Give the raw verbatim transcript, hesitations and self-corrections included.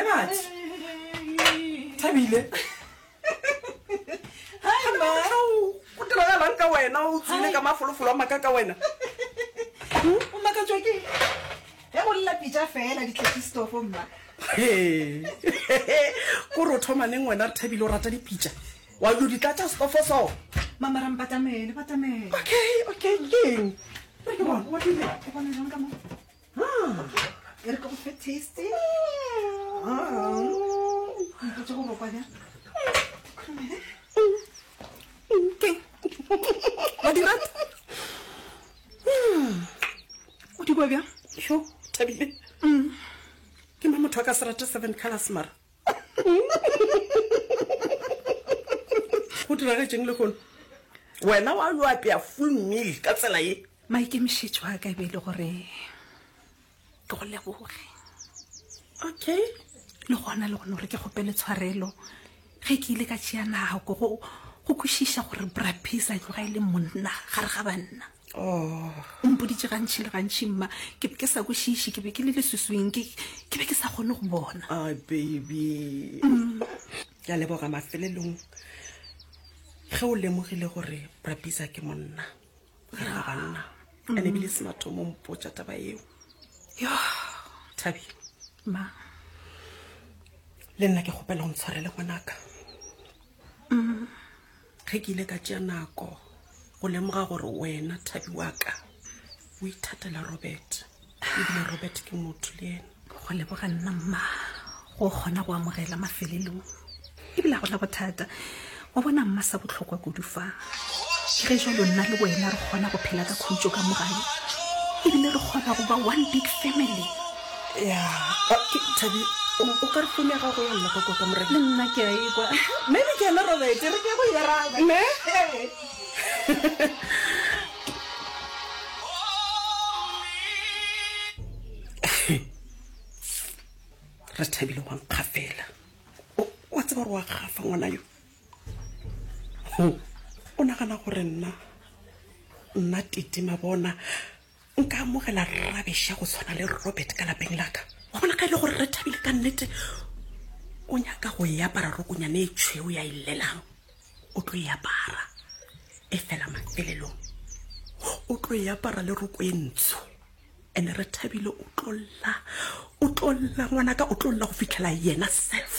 He batho. Thabile. Hi, ma. Go diragalang ka wena o tswile ka mafolofolo a maka ka wena? O makatšwa ke ge go lla pitša fela di tletše stofo mma. He. Kore o thoma neng wena re thabile o rata dipitša? Wa yo di tlatša stofo so? Mama ra mpatamele, batamele. Okay, okay, keng? Re ke bona, wa dire. O bona jang ka mo? Ah. E re ke go fe taste. Ah. Mpotse gore o kwa bjang. Khurumele. Keng? Wa di rata? O di kwa bjang? Yo, Thabile. Ke mang motho a ka se rate seven colors mara? Go diragetšeng lehono? Wena wa yo apea full meal ka tsela ye. Maikemišetšo a ka e be e le gore ke go leboge. Okay. Le gona le gona gore ke kgopele tshwarelo ge ke ile ka tšea nako go go kwešiša gore Bra Bizza tloga e le monna gare ga banna. Oh. O mpoditše gantši le gantši mma, ke be ke sa kwešiše, ke be ke le leswiswing, ke ke be ke sa kgone go bona. Ai baby. Ke a leboga mafelelong ge o lemogile gore Bra Bizza ke monna gare ga banna. And ebile se mathomo o mpotša taba eo. Yo, Thabi, ma. le nna ke kgopela o ntshwarele ngwanaka. Ge ke ile ka tšea nako go lemoga gore wena Thabi wa ka o ithatela Robert, ebile Robert ke motho le yena. Go leboga nna mma go kgona go amogela mafelelong. Ebile ga gona bothata. Wa bona mma sa bohlokwa kudu fa. Ke ge jwalo nna le wena re kgona go phela ka khutšo ka mo gae. Ebile re kgona go ba one big family. Ya, ah, ke Thabi, o o ka re founu ya gago ya lla ka kwa ka morena. Le nna ke a ekwa. Maybe ke yena Robert, re ke go e araba. Ne? Ee. Re thabile wa nkgafela. O wa tseba gore wa gafa ngwana yo. Ho, o nagana gore nna nna Titi Mabona nka amogela rubbish ya go tshwana le Robert ka lapeng la ka. Wa bona ka e le gore re thabile ka nnete o nyaka go e apara rokonyane e tšhweu ya e llelang. O tlo e apara e fela mafelelong. O tlo e apara le roko e ntsho. Ene re thabile o tlo lla, o tlo lla ngwanaka, o tlo lla go fitlhela yena self